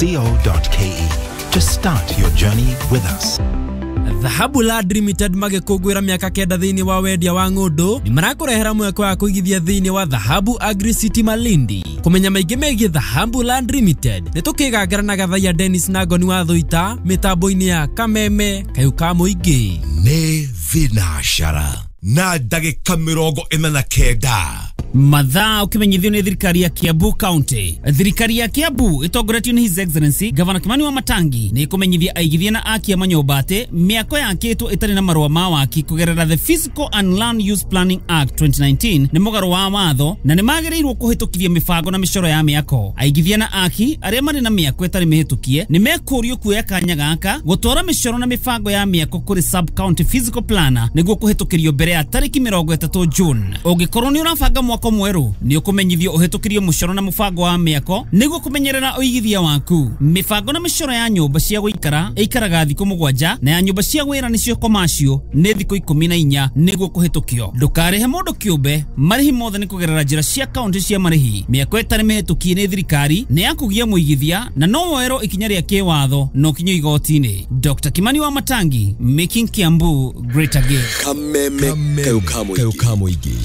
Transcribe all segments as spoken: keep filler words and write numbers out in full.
co dot k e to start your journey with us. Dhahabu Land Limited magĩkũngũĩra mĩaka kenda thĩinĩ wa wendia wa ng'ũndũ nĩ marakũrehera mweke wa kũigithia thĩinĩ wa Dhahabu Agri City Malindi. Kũmenya maingĩ megiĩ Dhahabu Land Limited nĩ tũkĩgangara na Gathaiya Dennis na Ngoni wa Thũita mĩtambo-inĩ ya Kameme Kayũ ka Mũingĩ. Nĩ thinacara na ndagĩka mĩrongo ĩna na kenda. Mathaa ukimenyithio ni thirikari ya Kiambu County. Thirikari ya Kiambu itongoretio ni His Excellency Governor Kimani wa Matangi ni ikumenyithia aigithia na akia manyũmba atĩ mĩako yakĩtwo ĩtarĩ na marũa ma waki kũgerera the Physical and Land Use Planning Act twenty nineteen nĩ mũgarũ wa watho na nĩ magĩrĩirwo kũhĩtũkithia mĩbango na mĩcoro ya mĩako. Aigithia na aki arĩa marĩ na mĩako ĩtarĩ mĩhĩtũkie nĩ mekũrio kuoya kanya gaka gũtwara mĩcoro na mĩbango ya mĩako kũrĩ sub county physical planner nĩguo kũhĩtũkĩrio mbere ya tarĩki mĩrongo ĩtatũ June. Ũngĩkorwo nĩ ũrabanga mwako mwerũ nĩ ũkũmenyithio ũhĩtũkĩrio mũcoro na mũbango wa mĩako nĩguo kũmenyerera ũigithia waku. Mĩbango na mĩcoro ya nyũmba cia gũikara ĩikaraga thikũ mũgwanja na ya nyũmba cia wĩra nĩcio commercial nĩ thikũ ikũmi na inya nĩguo kũhĩtũkio. Ndũkarĩhe mũndũ kĩũmbe, marĩhi mothe nĩ kũgerera njĩra cia kaunti cia marĩhi. Mĩako ĩtarĩ mĩhĩtũkie nĩ thirikari nĩ ya kũgia mũigithia na no woerwo ikinya rĩa kĩwatho na ũkinyio igoti-inĩ. Doctor Kimani wa Matangi, making Kiambu great again. Kameme Kayũ ka Mũingĩ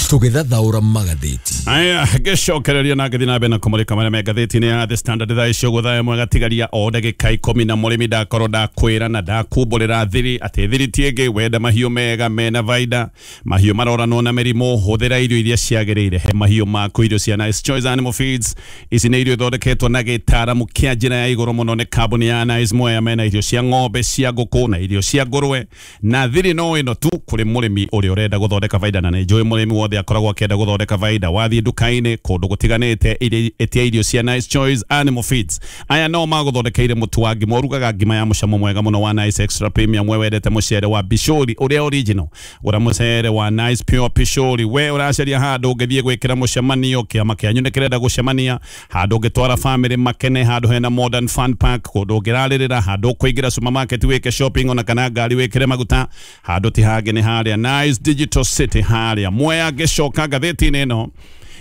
tũgĩthathaũra magathĩti. Aya, ngĩcokereria na ngĩthiĩ na mbere na kũmũrĩka marĩa me ngathĩti-inĩ ya The Standard thaa icio ũguo thaa ĩmwe gatigaria o ndagĩka ikũmi na mũrĩmi ndakorwo ndakwĩra na ndakumbũrĩra thiri atĩ thiri ti ĩngĩ wenda mahiũ mega mena baida mahiũ maroranwo na mĩrimũ hũthĩra irio iria ciagĩrĩire he mahiũ maku irio cia Nice Choice Animal Feeds. Ici nĩ irio ithondeketwo na gĩtaaramu kĩa njĩra ya igũrũ mũno nĩ kambuni ya Nice Mwea mena irio cia ng'ombe cia ngũkũ na irio cia ngũrwe na thiri no ĩno tu kũrĩ mũrĩmi ũrĩa ũrenda gũthondeka baida na nĩ njũĩ mũrĩmi wothe akoragwo akĩenda gũthondeka baida. Wathiĩ nduka-inĩ kũndũ gũtiganĩte ĩtia irio cia Nice Choice Animal Feeds. Aya no magũthondekeire mũtu wa ngima ũrugaga ngima ya mũcamo mwega mũno wa Nice Extra Premium. We wendete mũcere wa Bishori ũrĩa original, gũra mũcere wa Nice Pure Pishori. We ũracaria handũ ũngĩthiĩ gwĩkĩra mũcemanio, kĩama kĩanyu nĩ kĩrenda gũcemania, handũ ũngĩtwara family makene, handũ hena modern fun park, kũndũ ũngĩrarĩrĩra, handũ ũkũingĩra supermarket wĩke shopping ona kana ngari wĩkĩre maguta, handũ ti hangĩ nĩ harĩa Nice Digital City harĩa Mwea. Ngĩcoka ngathĩti-inĩ ĩno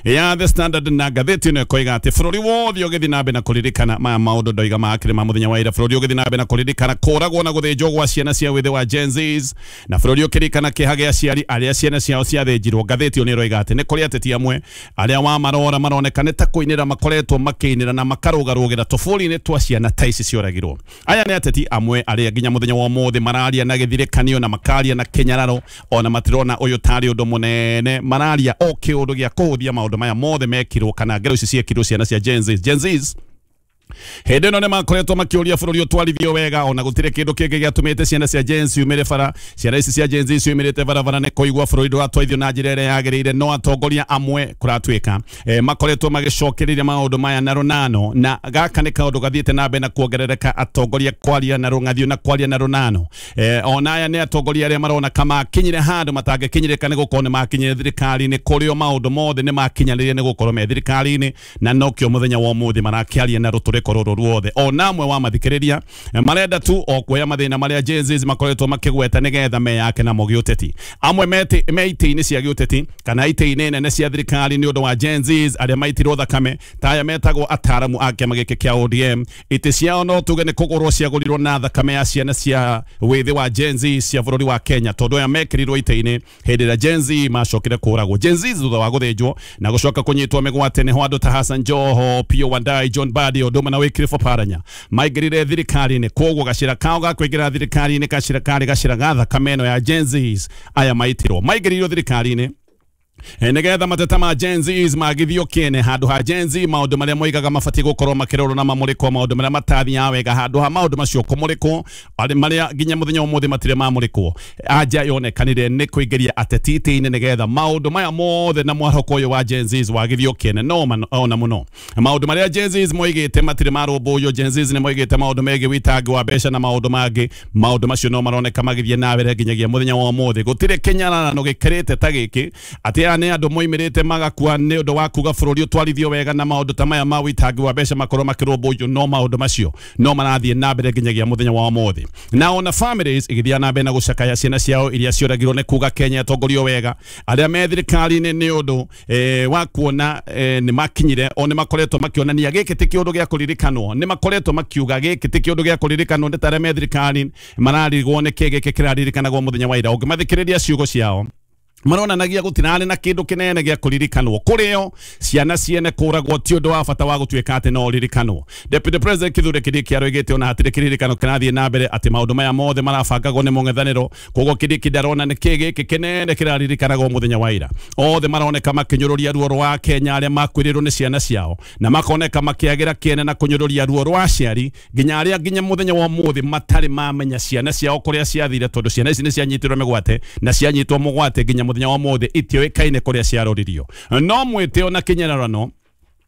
ya The Standard na ngathĩti ĩno ĩkoiga atĩ bũrũri wothe ũgĩthiĩ na mbere na kũririkana maya maũndũ ndoiga makĩrĩ ma mũthenya wa ira. Bũrũri ũgĩthiĩ na mbere na kũririkana kũragwo na gũthĩnjwo gwa ciana cia wĩthĩ wa Gen Zs na bũrũri ũkĩririkana kĩeha gĩa aciari arĩa ciana ciao ciathĩnjirwo. Ngathĩti ĩyo nĩ ĩroiga atĩ nĩ kũrĩ ateti amwe arĩa wamarora maroneka nĩ ta kũinĩra makoretwo makĩinĩra na makarũgarũgĩra tũbũri-inĩ twa ciana ta ici cioragirwo. Aya nĩ ateti amwe arĩa nginya mũthenya wa ũmũthĩ mararia na gĩthirĩkanio na makaria na kĩnyararo ona matirona ũyũ tarĩ ũndũ mũnene, mararia o kĩũndũ gĩa kũhũthia maũndũ maya mothe mekirwo kana ngero ici ciekirwo ciana cia Gen Z. Gen Zs hĩndĩ ĩno nĩ makoretwo makĩũria bũrũri ũtwarithio wega ona gũtirĩ kĩndũ kĩngĩ gĩatũmĩte ciana cia Gen Z ciumĩre bara. Ciana ici cia Gen Z ciumĩrĩte barabara nĩ kũigua bũrũri ndũratwarithio na njĩra ĩrĩa yagĩrĩire, no atongoria amwe kũratuĩka e, makoretwo magĩcokereria maũndũ maya na rũnano, na gaka nĩ kaũndũ gathiĩte na mbere na kuongerereka, atongoria kwaria na rũng'athio na kwaria na rũnano. E, ona aya nĩ atongoria arĩa marona kama makinyire handũ matangĩkinyĩrĩka nĩ gũkorwo nĩ makinyire thirikari-inĩ kũrĩo maũndũ mothe nĩ makinyanĩire nĩ gũkorwo me thirikari-inĩ, na nokĩo mũthenya wa ũmũthĩ marakĩaria na rũtũrĩko rũrũ ruothe. Ona amwe wa mathikĩrĩria marenda tu o kuoya mathĩna marĩa Gen Z makoretwo makĩgweta nĩgetha meyake namo gĩũteti. Amwe me itĩ-inĩ cia gĩũteti kana itĩ-inĩ nene cia thirikari nĩ ũndũ wa Gen Z arĩa maitirwo thakame ta aya metagwo ataramu a kĩama gĩkĩ kĩa O D M. Itĩ ciao no tuge nĩ kũgũrwo ciagũrirwo na thakame ya ciana cia wĩthĩ wa Gen Z cia bũrũri wa Kenya, tondũ aya mekĩrirwo itĩ-inĩ hĩndĩ ĩrĩa Gen Z macokire kũragwo. Gen Z thutha wa gũthĩnjwo na gũcoka kũnyitwo mĩgwate nĩho andũ ta Hassan Joho, Opiyo Wandayi, John Mbadi ũndũ na Wycliffe Oparanya maingĩrire thirikari-inĩ. Koguo gacĩra kao ga kũingĩra thirikari-inĩ gacĩra karĩ gacĩra ga thakame ĩno ya Gen Zs aya maitirwo maingĩrĩirwo thirikari-inĩ nĩgetha mateta ma Gen Zs magithio kĩene handũ ha Gen Z maũndũ marĩa moigaga mabatiĩ gũkorwo makĩrorwo na mamũrĩkwo maũndũ marĩa matathiaga wega handũ ha maũndũ macio kũmũrĩkwo marĩa nginya mũthenya ũmũthĩ matirĩ mamũrĩkwo. Anja yonekanire nĩ kũingĩria ateti itĩ-inĩ nĩgetha maũndũ maya mothe na mwarahũko ũyũ wa Gen Zs wagithio kĩene. No ona mũno maũndũ marĩa Gen Zs moigĩte matirĩ marũmbũiyo. Gen Zs nĩ moigĩte maũndũ megiĩ wĩitangi wa mbeca na maũndũ mangĩ. Maũndũ macio no maroneka magĩthiĩ na mbere nginyagia mũthenya wa ũmũthĩ. Gũtirĩ kĩnyararano gĩkĩrĩte ta gĩkĩ atĩ Aya nĩ andũ moimĩrĩte magakua nĩ ũndũ wa kuga bũrũri ũtwarithio wega na maũndũ ta maya ma wĩitangi wa mbeca makorwo makĩrũmbũiyo, no maũndũ macio no marathiĩ na mbere nginyagia mũthenya wa ũmũthĩ. Na ona families igĩthiĩ na mbere na gũcakaya ciana ciao iria cioragirwo nĩ kuga Kenya ĩtongorio wega. Arĩa me thirikari-inĩ nĩ ũndũ eh, wa kuona eh, nĩ makinyire o nĩ makoretwo makĩonania gĩkĩ ti kĩũndũ gĩa kũririkanwo, nĩ makoretwo makiuga gĩkĩ ti kĩũndũ gĩa kũririkanwo, nĩ ta arĩa me thirikari mararigwo nĩ kĩ gĩkĩ kĩraririkanagwo mũthenya wa ira. Ũngĩmathikĩrĩria ciugo ciao maronanagia gũtirarĩ na kĩndũ kĩnene gĩa kũririkanwo kũrĩo ciana ciene kũragwo ti ũndũ wa bata wa gũtuĩka atĩ no ũririkanwo. Deputy President Kithure Kindiki aroigĩte ona hatirĩ kĩririkano kĩrathiĩ na mbere atĩ maũndũ maya mothe marabangagwo nĩ mũng'ethanĩro, koguo Kindiki ndarona nĩ kĩ gĩkĩ kĩnene kĩraririkanagwo mũthenya wa ira. Othe maroneka makĩnyũrũria ruo rwa Kenya arĩa makuĩrĩirwo nĩ ciana ciao, na makoneka makĩagĩra kĩene na kũnyũrũria ruo rwa aciari nginya arĩa nginya mũthenya wa ũmũthĩ matarĩ mamenya ciana ciao kũrĩa ciathire, tondũ ciana ici nĩ cianyitirwo mĩgwate na cianyitwo mũgwate nginya mũthenya wa ũmũthĩ itiũĩkaine kũrĩa ciaroririo. No mwĩtĩo na kĩnyararano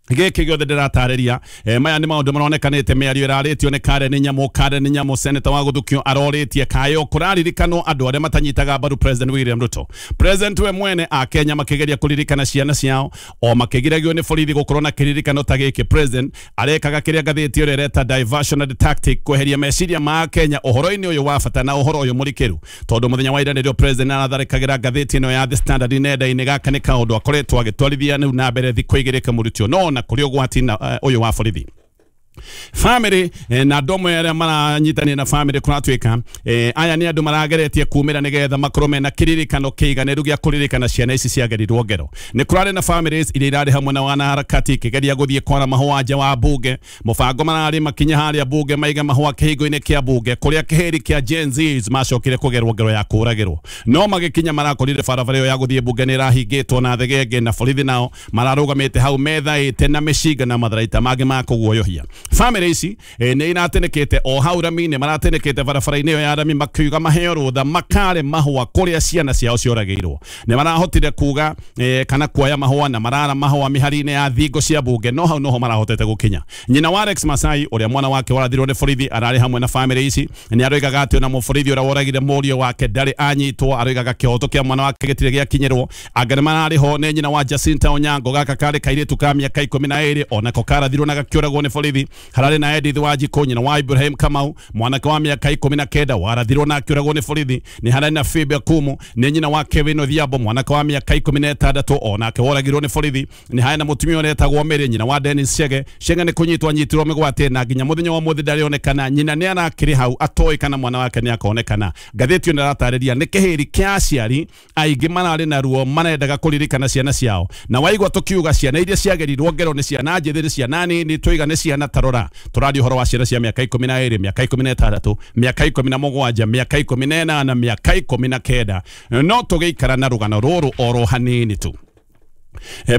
gĩkĩ gĩothe ndĩratarĩria, eh, maya nĩ maũndũ maronekanĩte mĩario ĩrarĩtio nĩ Karen Nyamu. Karen Nyamu seneta wa Gũthukio arorĩtie kayo kũraririkanwo andũ arĩa matanyitaga mbaru President William Ruto. President we mwene a Kenya makĩgeria kũririkana ciana ciao o makĩgiragio nĩ borithi gũkorwo na kĩririkano ta gĩkĩ. President arekaga kĩrĩa ngathĩti ĩrĩa ĩreta diversionary tactic kweheria meciria ma Kenya ũhoro-inĩ ũyũ wa bata na ũhoro ũyũ mũrikĩru, tondũ mũthenya wa ira nĩrĩo President aratharĩkagĩra ngathĩti ĩno ya The Standard nenda-inĩ. Gaka nĩ kaũndũ akoretwo agĩtwarithia rĩu na mbere thikũ igĩrĩ kamũrutio no na kũrĩ ũgwati na ũyũ wa borithi. Family eh, na andũ amwe arĩa maranyitania na family kũratuĩka eh, aya nĩ andũ marageretie kumĩra nĩgetha makorwo mena kĩririkano kĩiganĩru gĩa kũririkana ciana ici ciagerirwo ngero. Nĩ kũrarĩ na families iria irarĩ hamwe na wanaharakati ikĩgeria gũthiĩ kwara mahũa nja wa bunge. Mũbango mararĩ makinya harĩa bunge maiga mahũa kĩhingo-inĩ kĩa bunge kũrĩa kĩhĩri kĩa Gen Zs macokire kũgerwo ngero ya kũragĩrwo, no magĩkinya marakorire barabara ĩyo ya gũthiĩ bunge nĩ ĩrahingĩtwo na thegenge, na borithi nao mararũgamĩte hau methaĩte na mĩcinga na matharaita mangĩ ma kũguoyohia. Family ici eh, nĩ iratenekete o hau rami-inĩ, maratenekete barabara-inĩ ĩyo ya rami makiuga maheo rũtha makare mahũa kũrĩa ciana ciao cioragĩirwo. Nĩ marahotire kuga eh, kana kuoya mahũa na marara mahũa mĩhari-inĩ ya thingo cia bunge, no hau noho marahotete gũkinya. Nyina wa Alex Masai ũrĩa mwana wake warathirwo nĩ borithi ararĩ hamwe na family ici, nĩ aroigaga atĩ ona mũborithi ũrĩa woragire mũriũ wake ndarĩ anyitwo, aroigaga kĩhoto kĩa mwana wake gĩtirĩ gĩakinyĩrwo. Anga nĩ mararĩ ho nĩ nyina wa Jacinta Onyango, gaka karĩ kairĩtu ka mĩaka ikũmi na ĩrĩ onako karathirwo na gakĩũragwo nĩ borithi. Hararĩ na Edith Wanjikũ nyina wa Ibrahim Kamau mwanake wa mĩaka ikũmi na kenda warathirwo na akĩũragwo nĩ borithi. Nĩ hararĩ na Phoebe Akumu nĩ nyina wa Kevin Odhiambo mwanake wa mĩaka ikũmi na ĩtandatũ onake woragirwo nĩ borithi. Nĩ harĩ na mũtumia ũretagwo Mary nyina wa Dennis Chege. Chege nĩ kũnyitwo anyitirwo mĩgwate na nginya mũthenya wa ũmũthĩ ndarĩonekana. Nyina nĩ arakĩrĩ hau atoĩ kana mwana wake nĩ akonekana. Ngathĩti ĩno ĩratarĩria nĩ kĩhĩri kĩa aciari aingĩ mararĩ na ruo marendaga kũririkana ciana ciao, na waigua tũkiuga ciana iria ciagerirwo ngero nĩ ciana njĩthĩ nĩ ciana nini tũiga nĩ ciana tarora tũraria ũhoro wa ciana cia mĩaka ikũmi na ĩrĩ, mĩaka ikũmi na ĩtandatũ, mĩaka ikũmi na mũgwanja, mĩaka ikũmi na ĩnana, mĩaka ikũmi na kenda. No tũgĩikara na rũgano rũrũ oro hanini tu.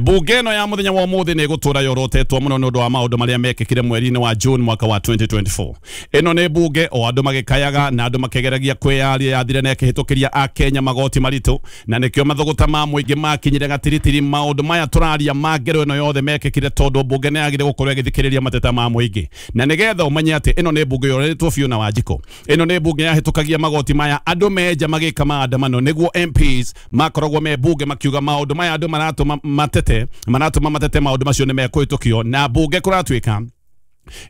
Bunge ĩno ya mũthenya wa ũmũthĩ nĩ ĩgũtũra yorotetwo mũno nĩ ũndũ wa maũndũ marĩa mekĩkire mweri-inĩ wa June mwaka wa twenty twenty-four. Ĩno nĩ bunge o andũ magĩkayaga na andũ makĩgeragia kwĩyaria yathire na ĩkĩhĩtũkĩria Akenya magoti maritũ, na nĩkĩo mathũgũta ma mũingĩ makinyire gatiritiri. Maũndũ maya tũraria ma ngero ĩno yothe mekĩkire tondũ bunge nĩ yagire gũkorwo ĩgĩthikĩrĩria mateta ma mũingĩ, na nĩgetha ũmenye atĩ ĩno nĩ bunge yoretwo biũ na Wanjikũ. Ĩno nĩ bunge yahĩtũkagia magoti maya andũ menja magĩka maandamano nĩguo M Ps makoragwo me bunge makiuga maũndũ maya andũ maratũma matete maratũma matete maũndũ macio nĩ mekũhĩtũkio na bunge kũratuĩka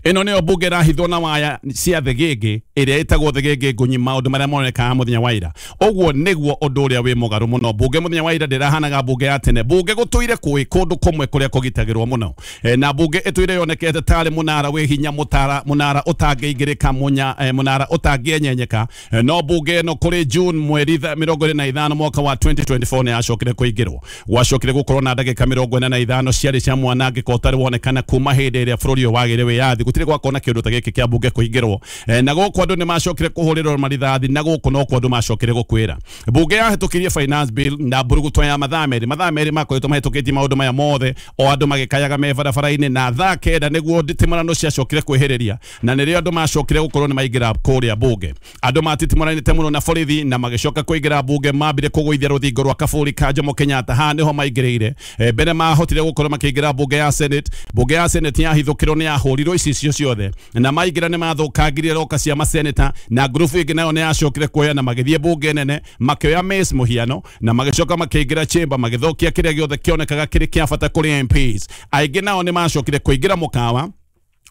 ĩno nĩyo bunge ĩrahithwo na waya cia thegenge ĩrĩa ĩtagwo thegenge ngũnyi maũndũ marĩa monekaga mũthenya wa ira. Ũguo nĩguo ũndũ ũrĩa wĩ mũgarũ mũno. Bunge mũthenya wa ira ndĩrahanaga bunge ya tene. Bunge gũtũire kwĩ kũndũ kũmwe kũrĩa kũgitagĩrwo mũno, e, na bunge ĩtũire yonekete tarĩ mũnara wĩ hinya, mũtara mũnara ũtangĩingĩrĩka, mũnya e, mũnara ũtangĩenyenyeka. E, no bunge ĩno kũrĩ June mweri mĩrongo ĩrĩ na ithano mwaka wa twenty twenty-four nĩ yacokire kũingĩrwo. Gwacokire gũkorwo na ndagĩka mĩrongo ĩna na ithano ciarĩ cia mwanangĩko ũtarĩ wonekana kuma hĩndĩ ĩrĩa bũrũri ũyũ wagĩire wĩyathi. Gũtirĩ gwakorwo na kĩũndũ ta gĩkĩ kĩa bunge kũingĩrwo, e, na gũkũ andũ nĩ macokire kũhũrĩrwo marithathi, na gũkũ no kwa andũ macokire gũkwĩra. Bunge yahĩtũkirie finance bill na mburuguto ya mathaa merĩ. Mathaa merĩ makoretwo mahĩtũkĩtie maũndũ maya mothe o andũ magĩkayaga me barabara-inĩ, na thaa kenda nĩguo nditimũrano ciacokire kwĩhĩrĩria, na nĩrĩo andũ macokire gũkorwo nĩ maingĩra kũrĩa bunge. Andũ matitimũranĩte mũno na borithi na magĩcoka kũingĩra bunge, mambire kũgũithia rũthingo rwa kaburi ka Jomo Kenyatta. Haha nĩho maingĩrĩire. E, mbere mahotire gũkorwo makĩingĩra bunge ya Senate. Bunge ya Senate yahithũkĩrwo nĩ yahũrirwo maingĩrĩirwo icicio ciothe na maingĩra nĩ mathũkangirie roka cia maseneta na ngurubu ĩngĩ nayo nĩ yacokire kuoya na magĩthiĩ bunge nene makĩoya mace mũhiano na magĩcoka makĩingĩra chamber magĩthũkia kĩrĩa gĩothe kĩonekaga kĩrĩ kĩa bata kũrĩ M Ps. Aingĩ nao nĩ macokire kũingĩra mũkawa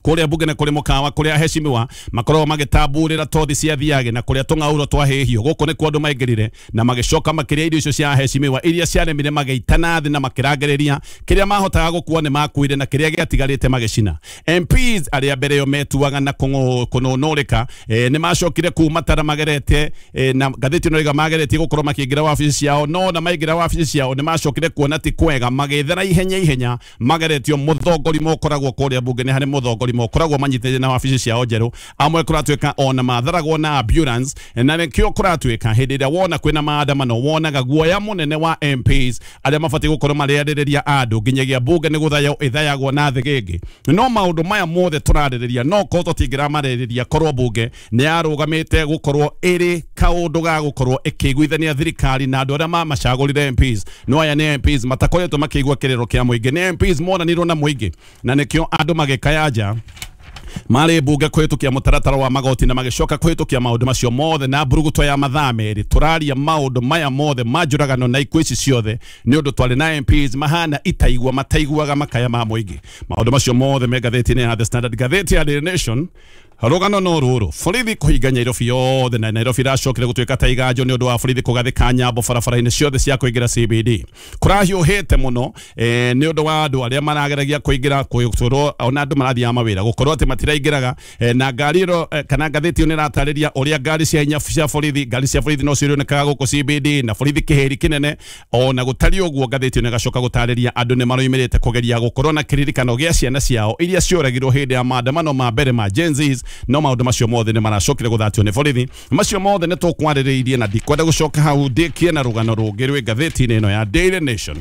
kuria bunge na kuri mukawa kuria heshimiwa makoragwo magitamburira tothi cia thiage na kuria tung'auro twahĩhio guku ni kwa andu maingirire na magicoka makiria irio icio cia heshimiwa iria ciaremire magiitana thi na makirangiriria kiria mahotaga gukua ni makuire na kiria giatigarite magicina. M Ps aria mbere yo metuaga na kununurika e, ni macokire kuma tara magerete e, na ngathĩti no iga mageretie gukorwo makiingira wabici ciao no na maingira wabici ciao ni macokire kuona ti kwega magethera ihenya ihenya mageretio muthongori mokoragwo kuria bunge ni hari muthongori mokoragwo manyitĩte na wabici ciao njerũ amwe kũratuĩka ona matharagwo na ambulance na nĩkĩo kũratuĩka hĩndĩ ĩrĩa wona kwĩna maandamano wonaga guoya mũnene wa M Ps arĩa mabatiĩ gũkorwo marĩarĩrĩria andũ nginyagia bunge nĩ gũthaywo ĩthayagwo na thĩgĩngĩ. No maũndũ maya mothe tũrarĩrĩria no korwo tũtingĩramarĩrĩria korwo bunge nĩ yarũgamĩte gũkorwo ĩrĩ kaũndũ ga gũkorwo ĩkĩiguithania thirikari na andũ arĩa mamacagũrire M Ps. No aya nĩ M Ps matakoretwo makĩigua kĩrĩro kĩa mũingĩ, nĩ M Ps monanirwo na mũingĩ na nĩkĩo andũ magĩkaya nja marĩ bunge kũhĩtũkia mũtaratara wa magoti na magĩcoka kũhĩtũkia maũndũ macio mothe na mburuguto ya mathaa merĩ. Tũraria maũndũ maya mothe ma njũragano na ikuũ ici ciothe nĩ ũndũ twarĩ na M Ps mahana itaigua mataiguaga makaya ma mũingĩ. Maũndũ macio mothe me ngathĩti-inĩ ya The Standard, ngathĩti ya Daily Nation. Rũgano no rũrũ, borithi kũhinga Nairobi yothe na Nairobi iracokire gũtuĩka ta iganjo nĩ ũndũ wa borithi kũgathĩka nyambo barabara-inĩ ciothe cia kũingĩra C B D. Kũrahiũhĩte mũno eh, nĩ ũndũ wa andũ arĩa marageragia kũingĩra kũgũtũrwo ona andũ marathiaga mawĩra gũkorwo atĩ matiraingĩraga eh, na ngari ĩro eh, kana ngathĩti ĩyo nĩ ĩratarĩria ũrĩa ngari cia hinya cia borithi ngari cia borithi no cionekaga gũkũ C B D na borithi kĩhĩri kĩnene. Ona gũtariĩ ũguo ngathĩti ĩyo nĩ ĩgacoka gũtarĩria andũ nĩ maroimĩrĩte kũgeria gũkorwo na kĩririkano gĩa ciana ciao iria cioragirwo hĩndĩ ya maandamano ma mbere ma Gen Zs. No maũndũ macio mothe nĩ maracokire gũthatio nĩ borithi. Macio mothe nĩ tũkwarĩrĩirie na ndikwenda gũcoka hau ndĩkie na rũgano rũngĩ rwĩ ngathĩti-inĩ ĩno ya Daily Nation.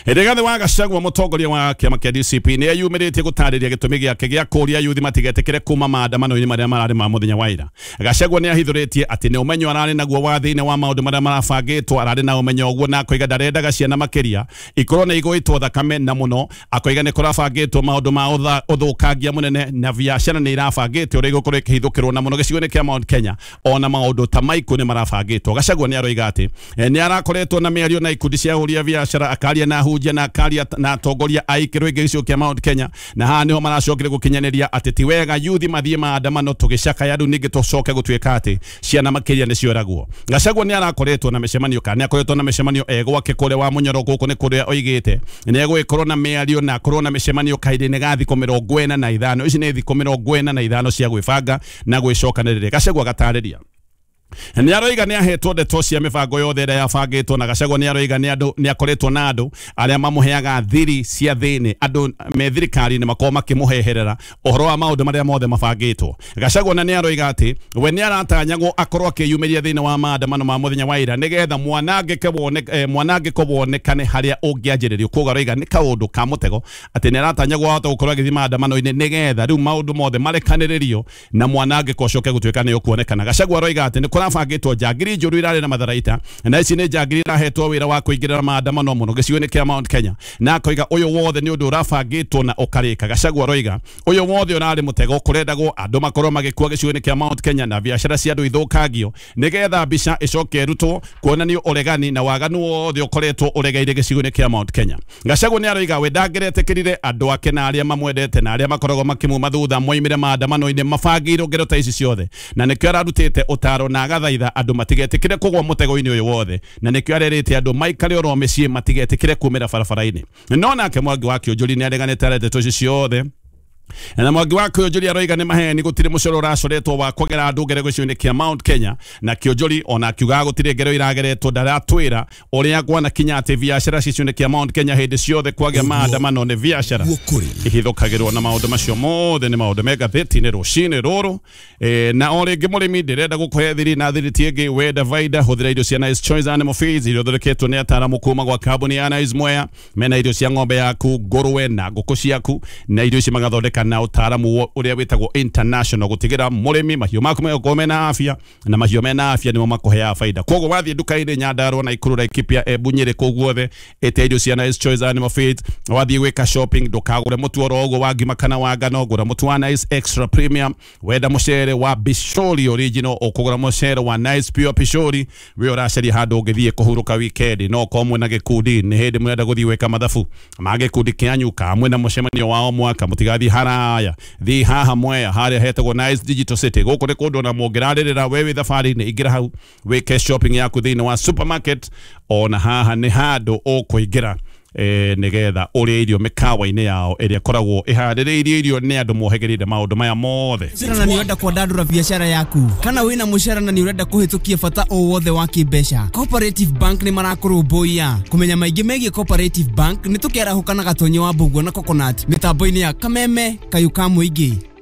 Rigathi wa Gachagua mũtongoria wa kĩama kĩa D C P nĩ eyumĩrĩtie gũtarĩria gĩtũmi gĩake gĩa kũũria yuthi matigetĩkĩre kuma maandamano-inĩ marĩa mararĩ ma mũthenya wa ira. Gachagua nĩ ahithũrĩtie atĩ nĩ ũmenyo ararĩ naguo wa thĩinĩ wa maũndũ marĩa marabangĩtwo, ararĩ na ũmenyo ũguo na akoiga ndarendaga ciana makĩria ikorwo nĩ igũĩtwo thakame na mũno, akoiga nĩ kũrabangĩtwo maũndũ ma ũthũkangia mũnene na biacara nĩ irabangĩtwo ũrĩa igũkorwo ĩkĩhithũkĩrwo na mũno gĩcigo-inĩ kĩa Mount Kenya, ona maũndũ ta maikũ nĩ marabangĩtwo. Gachagua nĩ aroiga atĩ nĩ arakoretwo na mĩario na ikundi cia ahũri a biacara, akaria na ahunjia na akaria na atongoria a ikĩro ingĩ gĩcigo kĩa Mount Kenya, na haha nĩho maracokire gũkinyanĩria atĩ ti wega yuthi mathiĩ maandamano tũgĩcakaya rĩu ningĩ tũcoke gũtuĩka atĩ ciana makĩria nĩ cioragwo. Gachagua nĩ arakoretwo na mĩcemanio kana nĩ akoretwo na mĩcemanio e gwake kũrĩa wa Mũnyoro gũkũ nĩ kũrĩa oigĩte nĩ egũgĩkorwo na mĩario na akorwo na mĩcemanio kahinda-inĩ ga thikũ mĩrongo ĩna na ithano. Ici nĩ thikũ mĩrongo ĩna na ithano cia gwĩbanga na gwĩcokanĩrĩria. Gachagua agatarĩria nĩ aroiga nĩ ahetwo ndeto cia mĩbango yothe ĩrĩa yabangĩtwo, na Gachagua nĩ aroiga nĩ andũ nĩ akoretwo na andũ arĩa mamũheaga thiri cia thĩinĩ, andũ me thirikari-inĩ makorwo makĩmũheherera ũhoro wa maũndũ marĩa mothe mabangĩtwo. Gachagua na nĩ aroiga atĩ we nĩ aratanyagwo akorwo akĩyumĩria thĩinĩ wa maandamano ma mũthenya wa ira nĩgetha mwanangĩko wone, eh, mwanangĩko wonekane harĩa ũngĩanjĩrĩrio. Koguo aroiga nĩ kaũndũ ka mũtego atĩ nĩ aratanyagwo ahote gũkorwo agĩthiĩ maandamano-inĩ nĩgetha rĩu maũndũ mothe marekanĩrĩrio na mwanangĩko ũcoke gũtuĩka nĩ ũkuonekana. Gachagua aroiga atĩ nĩ bangĩtwo njangiri njũru irarĩ na matharaita na ici nĩ njangiri irahetwo wĩra wa kũingĩrĩra maandamano mũno gĩcigo-inĩ kĩa Mount Kenya, na akoiga ũyũ wothe nĩ ũndũ ũrabangĩtwo na ũkarĩka. Gachagua aroiga ũyũ wothe ũrarĩ mũtego kũrendagwo andũ makorwo magĩkua gĩcigo-inĩ kĩa Mount Kenya na biacara cia andũ ithũkangio nĩgetha mbica ĩcoke ĩrutwo kuonanio ũregani na waganu wothe ũkoretwo ũregeire gĩcigo-inĩ kĩa Mount Kenya. Gachagua nĩ aroiga we ndangĩretĩkĩrire andũ ake na arĩa mamwendete na arĩa makoragwo makĩmuma thutha moimĩre maandamano-inĩ mabangĩirwo ngero ta ici ciothe, na nĩkĩo ararutĩte ũtaro na agathaitha andũ matigetĩkĩre kũgwa mũtego-inĩ ũyũ wothe, na nĩkĩo arerĩte andũ maikare oro mĩciĩ matigetĩkĩre kumĩra barabara-inĩ. No nake Mwangi wa Kĩũnjũri nĩ areganĩte na ndeto ici ciothe na Mwangi wa Kĩũnjũri aroiga nĩ maheni gũtirĩ mũcoro ũracoretwo wa kũgera andũ ngero gĩcigo-inĩ kĩa Mount Kenya, na Kĩũnjũri ona akiuga gũtirĩ ngero irageretwo ndaratwĩra ũrĩa gwanakinya atĩ biacara gĩcigo-inĩ kĩa Mount Kenya hĩndĩ ciothe kwagĩa maandamano nĩ biacara ihithũkagĩrwo na maũndũ macio mothe nĩ maũndũ me ngathĩti-inĩ rũcinĩ rũrũ. E, na o rĩngĩ mũrĩmi ndĩrenda gũkũhe thiri na thiri ti ĩngĩ wenda vaida hũthĩra irio cia Nice Choice Animal Feeds iria ithondeketwo nĩ ataaramu kuma gwa kambuni ya Nice Mwea. Mena irio cia ng'ombe yaku, ngũrwe na ngũkũ ciaku, na irio ici magathondeka gũthondeka na ũtaaramu ũrĩa wĩtagwo international gũtigĩra mũrĩmi mahiũ maku megũkorwo mena afya na mahiũ mena afya nĩmo makũheaga faida. Koguo wathiĩ nduka-inĩ Nyandarua na Nakuru, Laikipia, Embu, Nyĩrĩ, kũu guothe ĩte irio cia Nice Choice Animal Feeds. Wathiĩ gwĩka shopping ndũkagũre mũtu oro ũguo wa ngima kana wa ngano, gũra mũtu wa Nice Extra Premium. Wenda mũcere wa Bishori Original ũkũgũra mũcere wa Nice Pure Pishori. We ũracaria handũ ũngĩthiĩ kũhurũka weekend, no ũkorwo mwĩna gĩkundi nĩ hĩndĩ mũrenda gũthiĩ gwĩka mathabu ma gĩkundi kĩanyu ka mwĩna mũcemanio wa o mwaka, mũtigathiĩ haraya, thiĩ haha Mwea harĩa hetagwo Nice Digital City. Gũkũ nĩ kũndũ ona mũngĩrarĩrĩra we wĩ thabarĩ-inĩ, ingĩra hau wĩke shopping yaku thĩinĩ wa supermarket. Ona haha nĩ handũ ũkũingĩra eh, nĩgetha ũrĩe irio mĩkawa-inĩ yao ĩrĩa ĩkoragwo ĩharĩrĩirie irio nĩ andũ mohĩgĩrĩire maũndũ maya mothe. Na nĩ ũrenda kwandandũra biacara yaku kana wĩna mũcara na nĩ ũrenda kũhĩtũkia bata o wothe wa kĩmbeca, Cooperative Bank nĩ marakũrũmbũiya. Kũmenya maingĩ megiĩ Cooperative Bank nĩ tũkĩarahũka na Gatonye wa Mbũguo na Coconut mĩtambo-inĩ ya Kameme Kayũ ka Mũingĩ.